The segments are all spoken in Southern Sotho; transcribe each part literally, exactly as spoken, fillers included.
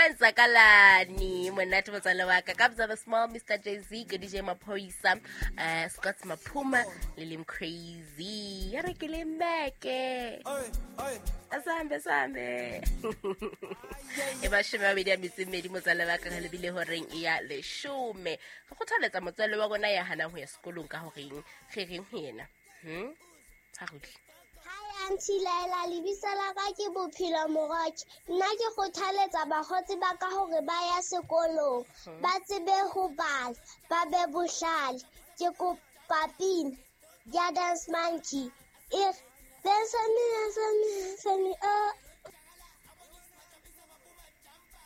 Kwenzakalani monate motswalle wa ka Kabza the Small, Mister Jay-Z, ke D J Maphoisa, uh, Scott Maphuma le Lim Crazy. Ya re ke le meke. Asambe sambe. E ba shome a mabedi a metso e mmedi motswalle wa ka re lebile horeng ya leshome. Re kgothaletsa motswalle wa rona ya hanang ho ya sekolong ka horeng re reng ho yena. Hmm? Tshwarudle. Hi Auntie Laila, lebitso la ka ke Bophelo Moroke. Nna ke kgothaletsa bakgotsi ba ka hore ba ya sekolong, ba tsebe ho bala, ba be bohlale. Ke kopa pina ya Dance Monkey. E re, dance me, dance me, dance me, oh.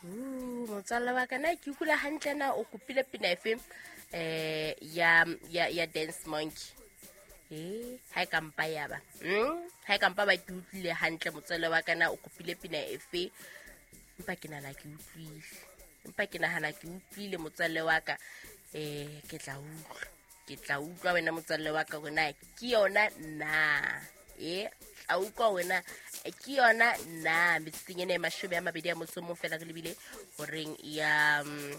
Uh, motswalle wa ka na ke utlwile hantle na o kopile pina efe, eh, ya, ya, ya Dance Monkey? Eh, ha e ka mpa ya ba. Hmm? Ha e ka mpa ba ke utlwile hantle motswalle wa ka na o kopile pina efe? Empa ke nahana ke utlwile. Empa ke nahana ke utlwile motswalle wa ka. Eh, ke tla utlwa. Ke tla utlwa wena motswalle wa ka hore na ke yona na. Eh, tla utlwa wena ke yona na. Metsotsong ena e mashome a mabedi a motso o mong fela re lebile horeng ya, mm,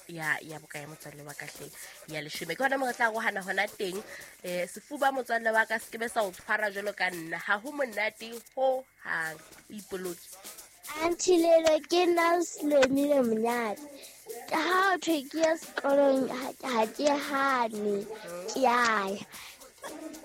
ya, ya boka ya motswalle wa ka hle ya leshome. Ke hona moo re tla arohana hona teng. Eh, sefuba motswalle wa ka se ke be sa o tshwara jwalo ka nna. Ha ho monate ho hang. O ipoloke. Auntie Lelo, ke nna Selomile Monyane. Ha ho thwe ke ya sekolong, ha, ha ke hane, ke a ya.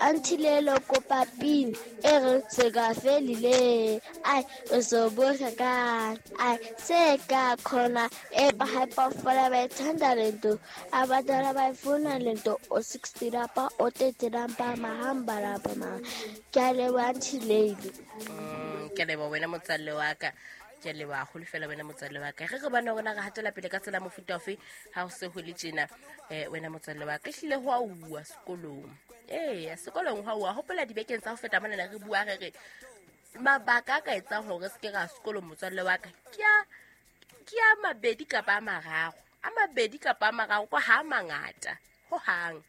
Auntie Lelo, kopa pina e re se ka felile. Ai, o so bohle ka. Ai, se ka khona e ba hyperfola ba ithanda lento. Abadala ba ifuna lento o sixty rapa o thirty rapa mahamba rapa ma. Ke a leboha Auntie Lelo. Mm, ke a leboha wena motswalle wa ka. Ke a leboha haholo fela wena motswalle wa ka. Re re bone hore na re hatela pele ka tsela mofuta ofe ha ho se ho le tjena. Eh, wena motswalle wa ka, ehlile ho a uwa sekolong. Eya, sekolong ho a uwa. Hopola dibekeng tsa ho feta mona re bua re re mabaka a ka etsang hore re se ke ra sekolong motswalle wa ka ke a, ke a mabedi kapa a mararo. A mabedi kapa a mararo kwa ha a mangata hohang.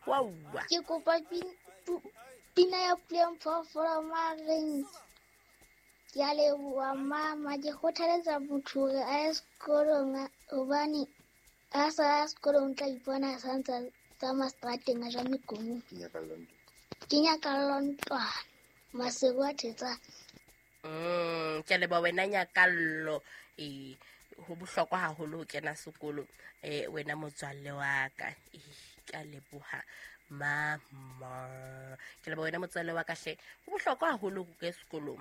Ho a uwa. Ke kopa pin-, pu-, pina ya Puleng Phoofolo Mareng. Ke a leboha mama, ke kgothaletsa motho hore a ye sekolong hobane ha sa ya sekolong o tla ipona a sa ntsa tsamaya seterateng a ja mekomo. Ke nyakallo ntlwana. Maseru a thetsang. Mm, ke a leboha wena Nyakallo. Eh, ho bohlokwa haholo ho kena sekolo. Eh, wena motswalle wa ka. Eh, ke a leboha mama. Ke leboha wena motswalle wa ka hle. Ho bohlokwa haholo ho ke sekolong.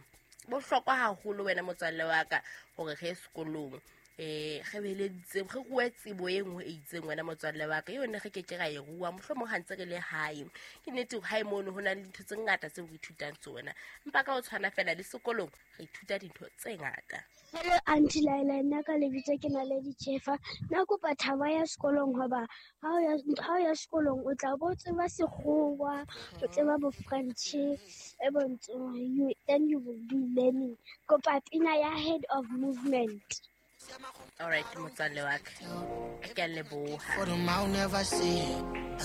Bohlokwa haholo wena motswalle wa ka hore re ye sekolong. Eh, re be le tsebo, re rue tsebo e nngwe e itseng wena motswalle wa ka. Yone re ke ke ra e rua, mohlomong ha ntse re le hae. Ke nnete hore hae mono ho na le dintho tse ngata tseo re ithutang tsona. Empa ka ho tshwana fela le sekolong re ithuta dintho tse ngata. Hello Auntie Laila, nna ka lebitso ke na le Ditjhefa. Nna kopa thabo ya sekolong hoba ha o ya, ha o ya sekolong o tla bo tseba sekgowa, o tseba bo French, e bontshang you, then you will be learning. Kopa pina ya Head of Movement. All right, motswalle wa ka. Ke a leboha. For them, I'll never see.